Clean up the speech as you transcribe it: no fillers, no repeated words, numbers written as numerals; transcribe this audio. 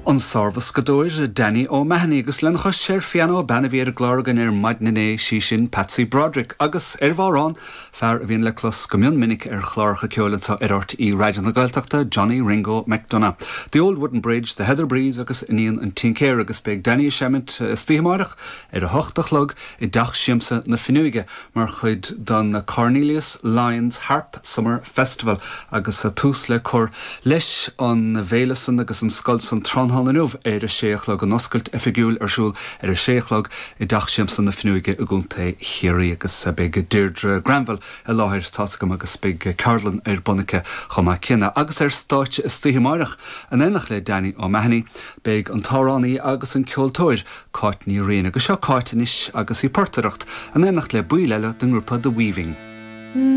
An sárbhoscadóir Danny O'Mahony agus lena chois ar phianó bean a bhí ar an gclár againn ar maidin inné, sí sin Patsy Broderick agus ar bhodhrán, fear a bhíonn le clos go mion minic ar chláracha ceoil anseo ar RTÉ Raidió na Gaeltachta, Johnny Ringo McDonagh. The Old Wooden Bridge, The Heather Breeze agus Iníon an Tincéara agus beidh Danny ag seimint istoíche amáireach ar a hocht a chlog i dTeach Siamsa na Finneoige mar chuid den Cornelius Lyons Harp Summer Festival agus tús le cur leis an bhféile san agus an scoil san tráthnóna inniu ar a sé a chlog, an oscailt oifigiúil ar siúl ar a sé a chlog i dTeach Siamsa na Finneoige i gContae Chiarraí agus beidh Deirdre Granville i láthair, tá's agam, agus beidh ceardlann ar bun aici chomh maith céanna. Agus ar stáitse istoíche amáireach in éineacht le Danny O'Mahony beidh an t-amhránaí agus an ceoltóir Cáit Ní Riain. Agus seo Cáit anois agus í ag portaireacht in éineacht le baill eile den ngrúpa The Weaving.